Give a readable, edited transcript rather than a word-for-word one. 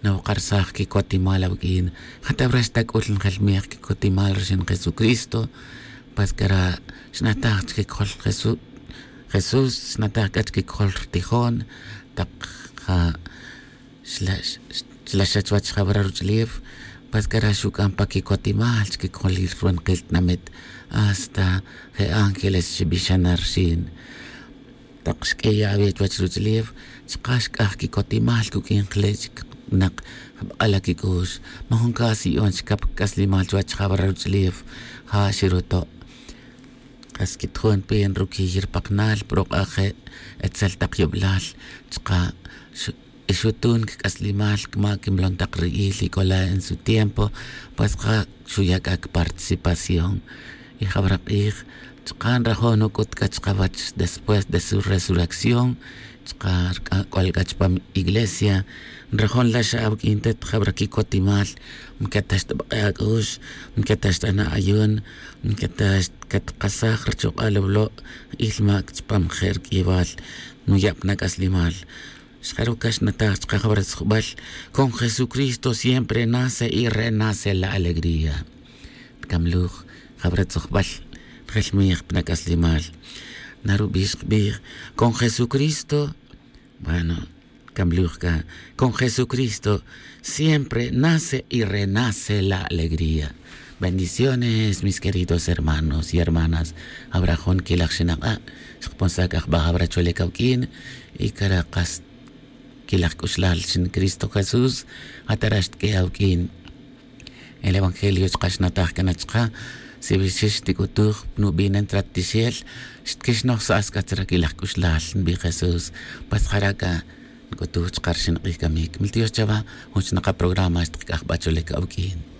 Nawqarsaj kikotimal awk'in. Jatawra xtak'ul njelmiq kikotimal rixin Jesucristo. Paskara xnataj chkikjol Jesús Jesús xnataj k'a chkikjol rtijon taq ja xlaxa chwach jabra ruch'ulew paskara xuk'an pa kikotimal chkikjol ruwanqil tinamit hasta je ángeles xib'ixan rxin taq xk'eya awe chwach ruch'ulew chqa xk'aj kikotimal kuk'in qle chik naq jab'ala kik'u'x majun kasi'on xkap k'aslimal chwach jabra ruch'ulew ja xiruto' qas kitjun pin rukiyir paqnal proq'aje etzel taq yub'lal chqa ixutun k'aslimal kma kimlon taq ri'il ikola en su tiempo pues qa xuyak'ak participación y jabra q'ij chqa nrajo' nuk'ut k'a chqawach después de su resurrección chqa k'wal k'a chpam iglesia nrajo' nlax awk'in tet jabra kikotimal mketax tb'aq'e ak'u'x mketax t'ana ayun mketax katqasaj richoq'al wlo' ilmak chpam je'r k'iwal nuyab' nak'aslimal xjarukax nataj chqa jabra tzjub'al con Jesucristo siempre nace y renace la alegría tkamluj jabra tzujb'al jelmiq pnak'aslimal narub'ix qb'ij con Jesucristo bueno kamluj ka con Jesucristo siempre nace y renace la alegría. Bendiciones, mis queridos hermanos y hermanas. Abrajón kilaj xinaqa, xqponsak ajb'aj abra cholekawk'in y karaqas kilaj k'uxlal xin Cristo Jesús atarax tk'e awk'in. El Evangelio chqaxnataj kanachqa si bixix tikutuj nub'inen tratixel xtkixnoj sa'as k'atzra kilaj k'uxlal nb'i Jesús pasjaraka nk'utuj chqar xinq'ij kamik. Mil Dios chava juchnaqa programa xtqk'aj b'acholek awk'in.